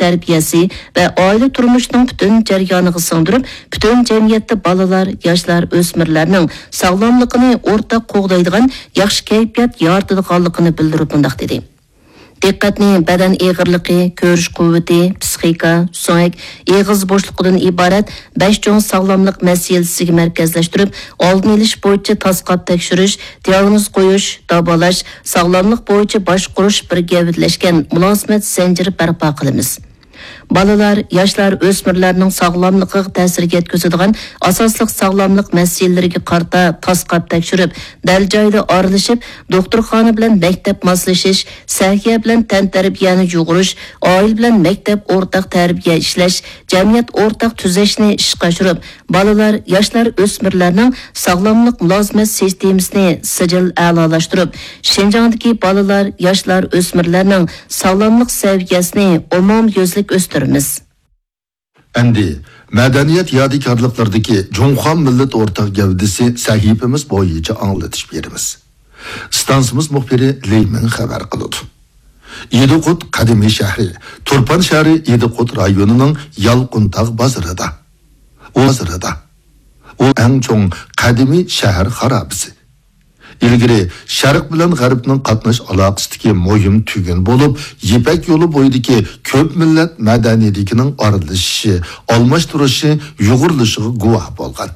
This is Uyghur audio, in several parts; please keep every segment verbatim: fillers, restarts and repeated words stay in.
تەربىيەسى ۋە ئائىلە تۇرمۇشىنىڭ پۈتۈن جەريانىغا سىڭدۈرۈپ، پۈتۈن جەمئىيەتتە بالىلار، ياشلار، ئۆسمۈرلەرنىڭ ساغلاملىقىنى ئورتاق قوغدايدىغان ياخشى كەيپىيات يارىتىدىغانلىقىنى بىلدۈرۈپ مۇنداق دېدى: دىققەتنى بەدەن ئېغىرلىقى، كۆرۈش قۇۋۋىتى، پىسخىكا، سۆڭەك، ئېغىز بوشلۇقىدىن ئىبارەت بەش چوڭ ساغلاملىق مەسىلىسىگە مەركەزلەشتۈرۈپ، ئالدىنى ئېلىش بويىچە تاسقاپ تەكشۈرۈش، دىئاگنوز قويۇش، داۋالاش، ساغلاملىق بويىچە باشقۇرۇش بىر گەۋدىلەشكەن مۇلازىمەت زەنجىرى بەرپا قىلىمىز. بالىلار، ياشلار، ئۆسمۈرلەرنىڭ ساغلاملىقىغا تەسىر يەتكۈزىدىغان ئاساسلىق ساغلاملىق مەسىلىلىرىگە قارىتا تاسقاپ تەكشۈرۈپ، دەل جايىدا ئارىلىشىپ، دوختۇرخانا بىلەن مەكتەپ ماسلىشىش، سەھىيە بىلەن تەنتەربىيەنى يۇغۇرۇش، ئائىلە بىلەن مەكتەپ ئورتاق تەربىيە ئىشلەش، جەمئىيەت ئورتاق تۈزەشنى ئىشقا ئاشۇرۇپ، بالىلار، ياشلار، ئۆسمۈرلەرنىڭ ساغلاملىق مۇلازىمەت سىستېمىسىنى سىجىل ئەلالاشتۇرۇپ، شىنجاڭدىكى بالىلار، ياشلار، ئۆسمۈرلەرنىڭ ساغلاملىق سەۋىيەسىنى ئومۇميۈزلۈك ئۆستۈرىمىز. ئەمدى مەدەنىيەت يادىكارلىقلىرىدىكى جۇڭخۇا مىللەت ئورتاق گەۋدىسى سەھىپىمىز بويىچە ئاڭلىتىش بېرىمىز. ئىستانسىمىز مۇخبىرى لى مىڭ خەۋەر قىلىدۇ. ئىدىقۇت قەدىمىي شەھىرى، تۇرپان شەھىرى ئىدىقۇت رايونىنىڭ يالقۇنتاغ بازىرىدا. ئۇ بازىرىدا. ئۇ ئەڭ چوڭ قەدىمىي شەھەر خارابىسى. ئىلگىرى شەرق بىلەن غەربنىڭ قاتناش ئالاقىسىدىكى مۇھىم تۈگۈن بولۇپ، يىپەك يولى بويىدىكى كۆپ مىللەت مەدەنىيىتىنىڭ ئارىلىشىشى، ئالماشتۇرۇشى، يۇغۇرۇلۇشىغا گۇۋاھ بولغان.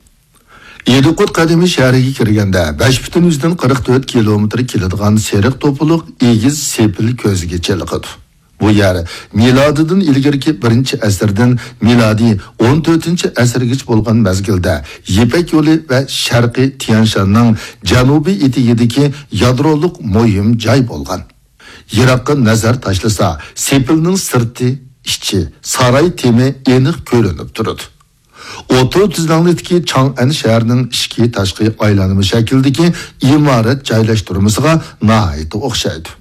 ئىدىقۇت قەدىمىي شەھىرىگە كىرگەندە، بەش پۈتۈن يۈزدىن قىرىق تۆت كىلومېتىر كېلىدىغان سېرىق توپىلىق ئېگىز سېپىل كۆزگە چېلىقىدۇ. بۇ يەر مىلادىدىن ئىلگىرىكى بىرىنچى ئەسىردىن مىلادىي ئون تۆتىنچى ئەسىرگىچە بولغان مەزگىلدە يىپەك يولى ۋە شەرقىي تيەنشاننىڭ جەنۇبىي ئېتىكىدىكى يادرولۇق مۇھىم جاي بولغان. يىراققا نەزەر تاشلىسا، سېپىلنىڭ سىرتى، ئىچى، ساراي تېمى ئېنىق كۆرۈنۈپ تۇرىدۇ. ئوتتۇرا تۈزلەڭلىكتىكى چاڭئەن شەھىرىنىڭ ئىچكى تاشقى ئايلانما شەكلىدىكى ئىمارەت جايلاشتۇرمىسىغا ناھايىتى ئوخشايدۇ.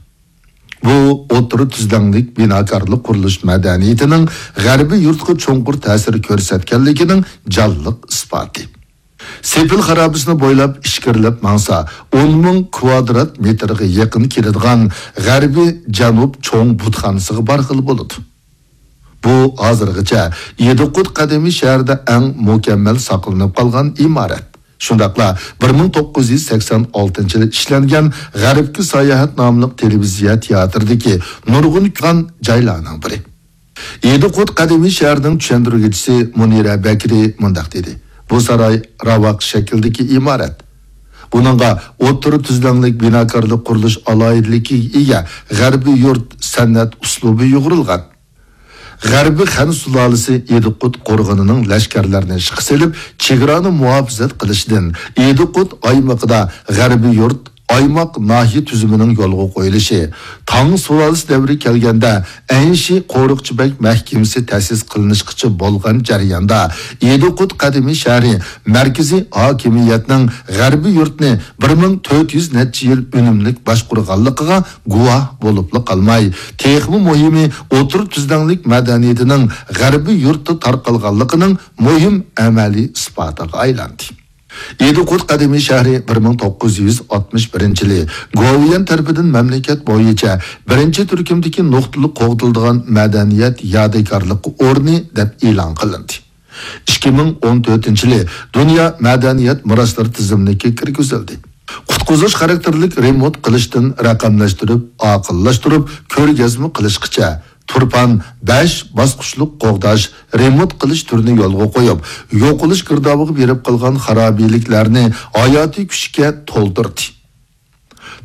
بۇ ئوتتۇرا تۈزلەڭلىك بىناكارلىق قۇرۇلۇش مەدەنىيىتىنىڭ غەربىي يۇرتقا چوڭقۇر تەسىر كۆرسەتكەنلىكىنىڭ جانلىق ئىسپاتى. سېپىل خارابىسىنى بويلاپ ئىچكىرىلەپ ماڭسا، ئون مىڭ كۋادرات مېتىرغا يېقىن كېلىدىغان غەربىي جەنۇب چوڭ بۇتخانىسىغا بارغىلى بولىدۇ. بۇ ھازىرغىچە ئىدىقۇت قەدىمىي شەھىرىدە ئەڭ مۇكەممەل ساقلىنىپ قالغان ئىمارەت. شۇنداقلا بىر مىڭ توققۇز يۈز سەكسەن ئالتىنچى يىلى ئىشلەنگەن غەربكە ساياھەت ناملىق تېلېۋىزىيە تىياتىرىدىكى نۇرغۇن كۆرگەن جايلارنىڭ بىرى. ئىدىقۇت قەدىمىي شەھىرىنىڭ چۈشەندۈرگۈچىسى مۇنىرە بەكرى مۇنداق دېدى: بۇ ساراي راۋاق شەكلىدىكى ئىمارەت. بۇنىڭغا ئوتتۇرا تۈزلەڭلىك بىناكارلىق قۇرۇلۇش ئالاھىدىلىكىگە ئىگە غەربىي يۇرت سەنئەت ئۇسلۇبى يۇغۇرۇلغان. غەربىي خەن سۇلالىسى ئىدىقۇت قورغىنىنىڭ لەشكەرلەرنى ئىشقا سېلىپ، چېگرانى مۇھاپىزەت قىلىشىدىن ئىدىقۇت ئايمىقىدا غەربىي يۇرت، ئايماق، ناھىيە تۈزۈمىنىڭ يولغا قويۇلۇشى، تاڭ سۇلالىسى دەۋرى كەلگەندە ئەنشى قورۇقچى بەگ مەھكىمىسى تەسىس قىلىنىشقىچە بولغان جەرياندا، ئىدىقۇت قەدىمىي شەھىرى مەركىزىي ھاكىمىيەتنىڭ غەربىي يۇرتنى بىر مىڭ تۆت يۈز نەچچە يىل ئۈنۈملۈك باشقۇرغانلىقىغا گۇۋاھ بولۇپلا قالماي، تېخىمۇ مۇھىمى، ئوتتۇرا تۈزلەڭلىك مەدەنىيىتىنىڭ غەربىي يۇرتتا تارقالغانلىقىنىڭ مۇھىم ئەمەلىي ئىسپاتىغا ئايلاندى. ئىدىقۇت قەدىمىي شەھىرى بىر مىڭ توققۇز يۈز ئاتمىش بىرىنچى يىلى گوۋۇيۈەن تەرىپىدىن مەملىكەت بويىچە بىرىنچى تۈركۈمدىكى نۇقتىلىق قوغدىلىدىغان مەدەنىيەت يادىكارلىقى ئورنى دەپ ئېلان قىلىندى. ئىككى مىڭ ئون تۆتىنچى يىلى دۇنيا مەدەنىيەت مىراسلىرى تىزىملىكىگە كىرگۈزۈلدى. قۇتقۇزۇش خاراكتېرلىك رېمونت قىلىشتىن رەقەملەشتۈرۈپ، ئاقىللاشتۇرۇپ، كۆرگەزمە قىلىشقىچە، تۇرپان بەش باسقۇچلۇق قوغداش، رېمونت قىلىش تۈرىنى يولغا قويۇپ، يوقىلىش گىردابىغا بېرىپ قالغان خارابىلىكلەرنى ھاياتىي كۈچكە تولدۇردى.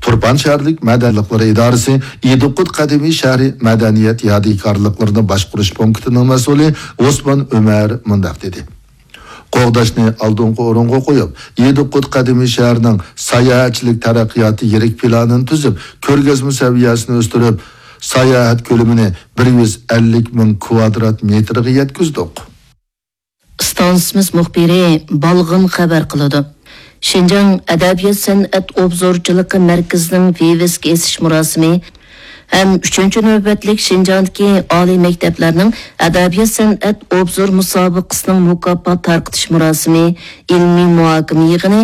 تۇرپان شەھەرلىك مەدەنىيەتلىرى ئىدارىسى ئىدىقۇت قەدىمىي شەھىرى مەدەنىيەت يادىكارلىقلىرىنى باشقۇرۇش پونكىتىنىڭ مەسئۇلى ئوسمان ئۆمەر مۇنداق دېدى: قوغداشنى ئالدىنقى ئورۇنغا قويۇپ، ئىدىقۇت قەدىمىي شەھىرىنىڭ ساياھەتچىلىك تەرەققىياتى يىرىك پىلانىنى تۈزۈپ، كۆرگەزمە سەۋىيەسىنى ئۆستۈرۈپ، ساياھەت كۆلىمىنى بىر يۈز ئەللىك مىڭ كۋادرات مېتىرغا يەتكۈزدۇق. ئىستانسىمىز مۇخبىرى بالغىن خەۋەر قىلىدۇ. شىنجاڭ ئەدەبىيات سەنئەت ئوبزورچىلىقى مەركىزىنىڭ ۋىۋىسكا ئېسىش مۇراسىمى ھەم ئۈچىنچى نۆۋەتلىك شىنجاڭدىكى ئالىي مەكتەپلەرنىڭ ئەدەبىيات سەنئەت ئوبزور مۇسابىقىسىنىڭ مۇكاپات تارقىتىش مۇراسىمى، ئىلمىي مۇھاكىمە يىغىنى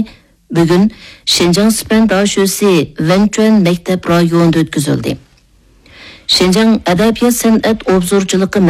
بۈگۈن شىنجاڭ سىپەن داشۆسى ۋەنچۈەن مەكتەپ رايونىدا ئۆتكۈزۈلدى. شىنجاڭ ئەدەبىيات سەنئەت ئوبزورچىلىقى